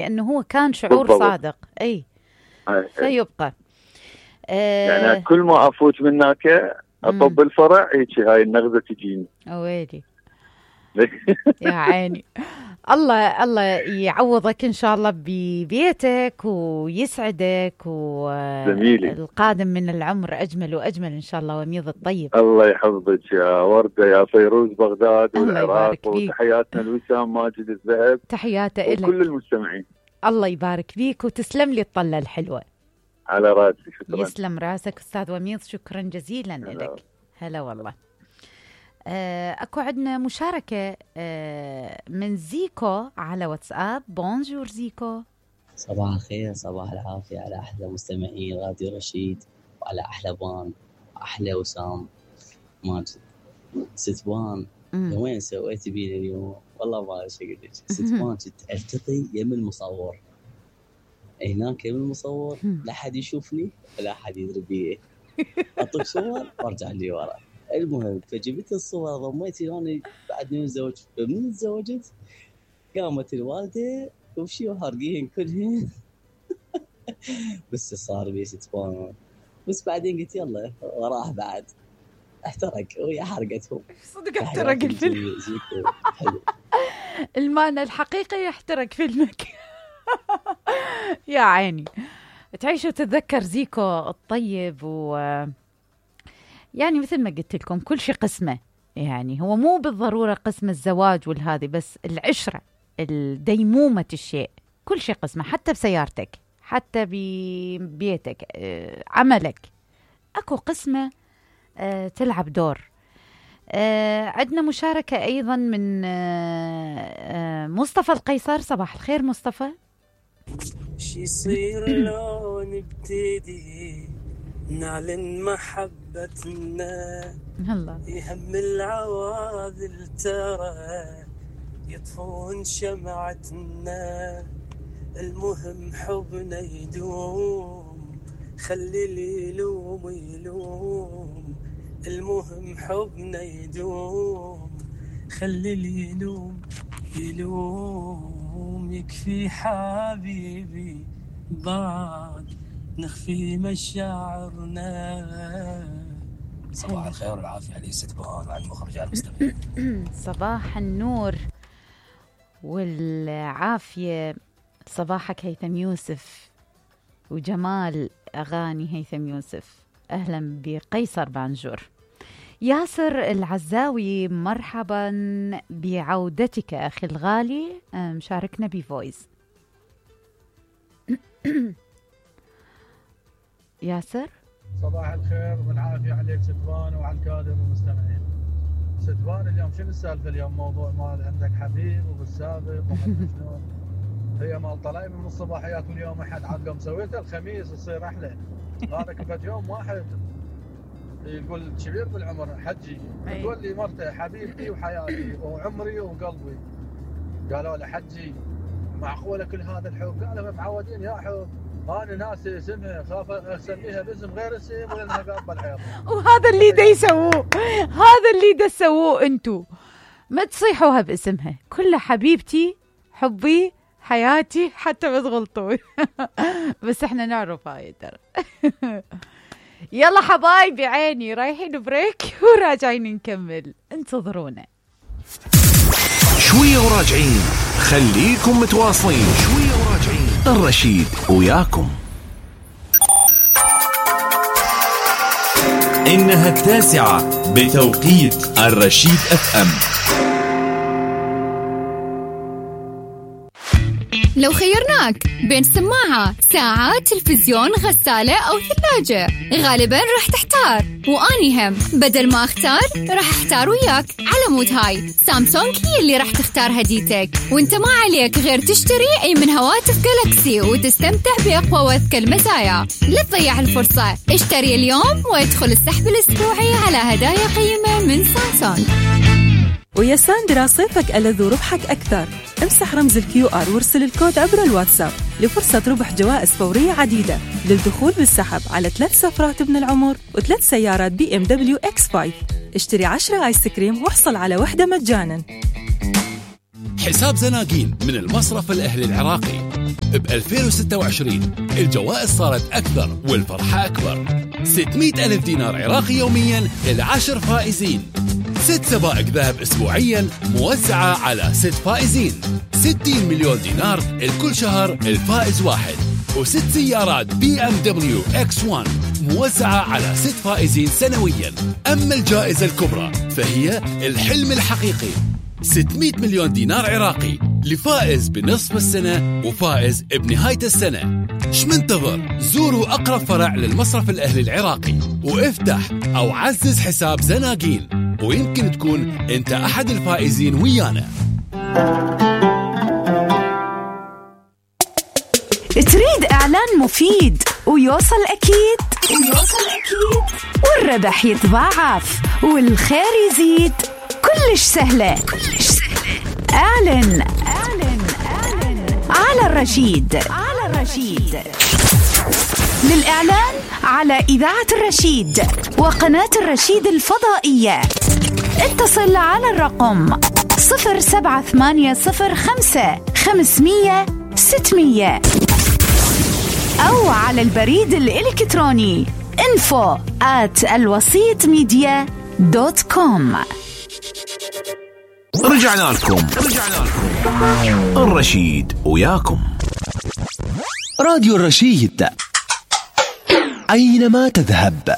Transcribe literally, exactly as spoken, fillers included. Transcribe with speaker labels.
Speaker 1: لأنه هو كان شعور بالضبط. صادق. أي فيبقى
Speaker 2: آه يعني كل ما أفوت من هناك أطب الفرع هيك هاي النغزة تجيني.
Speaker 1: أويلي يا عيني. الله الله يعوضك إن شاء الله ببيتك ويسعدك، والقادم من العمر أجمل وأجمل إن شاء الله، وميض الطيب.
Speaker 2: الله يحفظك يا وردة يا فيروز بغداد والعراق، وتحياتنا لوسام ماجد الذهب،
Speaker 1: تحياته إلك
Speaker 2: وكل المستمعين.
Speaker 1: الله يبارك فيك وتسلم لي الطلة الحلوة.
Speaker 2: على راسي، شكرا.
Speaker 1: يسلم راسك أستاذ وميض، شكرا جزيلا لك. هلا والله. آه، أكو عندنا مشاركة آه، من زيكو على واتساب. بونجور زيكو.
Speaker 3: صباح الخير، صباح العافية على أحلى مستمعين راديو رشيد، وعلى أحلى بان، أحلى وسام ماجد. ست بان وين سويتي بينا اليوم؟ والله ما أعرف أقول لك. ست بان كنت ألتقي يم المصور هناك، يم المصور لا حد يشوفني ولا حد يدري بيه، أطلق صور وارجع لي ورا. المهم فجبت الصور ضميتي لوني بعد نتزوج. فمن تزوجت قامت الوالدة وشي وحرقين كلهن بس صار بي ستبان. بس بعدين قلت يلا وراح بعد احترق ويا حرقتهم.
Speaker 1: صدق احترق الفيلم. المعنى الحقيقي يحترق فيلمك يا عيني. تعيش وتتذكر زيكو الطيب، و يعني مثل ما قلت لكم كل شيء قسمه. يعني هو مو بالضرورة قسم الزواج والهذي، بس العشرة، الديمومة الشيء، كل شيء قسمه. حتى بسيارتك، حتى ببيتك، عملك، أكو قسمة تلعب دور. عندنا مشاركة أيضا من مصطفى القيصر. صباح الخير مصطفى.
Speaker 4: شي يصير لو نبتدي نعلن محبتنا،
Speaker 1: هلا
Speaker 4: يهم العواذل ترى يطفون شمعتنا، المهم حبنا يدوم، خلي اللي يلوم يلوم، المهم حبنا يدوم، خلي اللي يلوم يلوم، يكفي حبيبي بعد نخفي مشاعرنا. صباح الخير والعافية علي ست بهان وعلى المخرج على المستمعين.
Speaker 1: صباح النور والعافية. صباحك هيثم يوسف وجمال أغاني هيثم يوسف. أهلا بقيصر بانجور. ياسر العزاوي، مرحبا بعودتك أخي الغالي، مشاركنا بفويس. ياسر
Speaker 5: صباح الخير والعافية عليك ستبان وعلى الكادر والمستمعين. ستبان اليوم شنو السالفة اليوم؟ موضوع مال عندك حبيب وبالسابق وشلون؟ هي مال طلعي من الصباحيات واليوم أحد عاد لو مسويته الخميس يصير أحلى. هذا كفت يوم واحد يقول كبير بالعمر حجي تقول لي مرته حبيبتي وحياتي وعمري وقلبي. قالوا له حجي معقولة كل هذا الحب؟ قالوا معودين يا حب، أنا ناسي اسمها خاف أسميها باسم غير اسم ولأنها قابل الحياة.
Speaker 1: وهذا اللي دا يسووه، هذا اللي دا تسووه أنتو، ما تصيحوها باسمها، كلها حبيبتي حبي حياتي حتى ما تغلطوا بس احنا نعرف هاي ترى. يلا حبايبي عيني رايحين بريك وراجعين نكمل، انتظرونا
Speaker 6: شوية وراجعين، خليكم متواصلين. شوية وراجعين، الرشيد وياكم. إنها التاسعة بتوقيت الرشيد اف ام.
Speaker 7: لو خيرناك بين سماعة، ساعة، تلفزيون، غسالة أو ثلاجة، غالباً راح تحتار، وأني هم بدل ما أختار راح أحتار وياك. على مود هاي سامسونج هي اللي راح تختار هديتك، وانت ما عليك غير تشتري أي من هواتف جالاكسي وتستمتع بأقوى وأذكى المزايا. لا تضيع الفرصة، اشتري اليوم وادخل السحب الأسبوعي على هدايا قيمة من سامسونج.
Speaker 8: ويا ساندرا صيفك ألذ وربحك أكثر. امسح رمز الكيو آر وارسل الكود عبر الواتساب لفرصة ربح جوائز فورية عديدة للدخول بالسحب على ثلاث سفرات ابن العمر وثلاث سيارات بي ام دبليو اكس خمسة. اشتري عشرة آيس كريم واحصل على وحدة مجانا.
Speaker 6: حساب زناقين من المصرف الأهلي العراقي، ب ألفين وستة وعشرين الجوائز صارت أكثر والفرحة أكبر. ستمئة ألف دينار عراقي يوميا للعشر فائزين. ست سبائك ذهب أسبوعيا موزعة على ست فائزين. ستين مليون دينار الكل شهر الفائز واحد. وست سيارات بي ام دبليو اكس واحد موزعة على ست فائزين سنويا. أما الجائزة الكبرى فهي الحلم الحقيقي، ستمئة مليون دينار عراقي لفائز بنصف السنة وفائز بنهاية السنة. شمنتظر؟ زوروا أقرب فرع للمصرف الأهلي العراقي وافتح أو عزز حساب زناقين، ويمكن تكون أنت أحد الفائزين ويانا.
Speaker 9: تريد إعلان مفيد ويوصل أكيد ويوصل أكيد والربح يتضاعف والخير يزيد؟ كلش سهلة كلش سهلة. اعلن اعلن اعلن على الرشيد على الرشيد. للإعلان على إذاعة الرشيد وقناة الرشيد الفضائية اتصل على الرقم صفر سبعة ثمانية صفر خمسة خمسمية ستمية أو على البريد الإلكتروني info at الوسيط ميديا دوت كوم.
Speaker 6: رجعنا لكم رجعنا لكم الرشيد وياكم.
Speaker 10: راديو الرشيد أينما تذهب.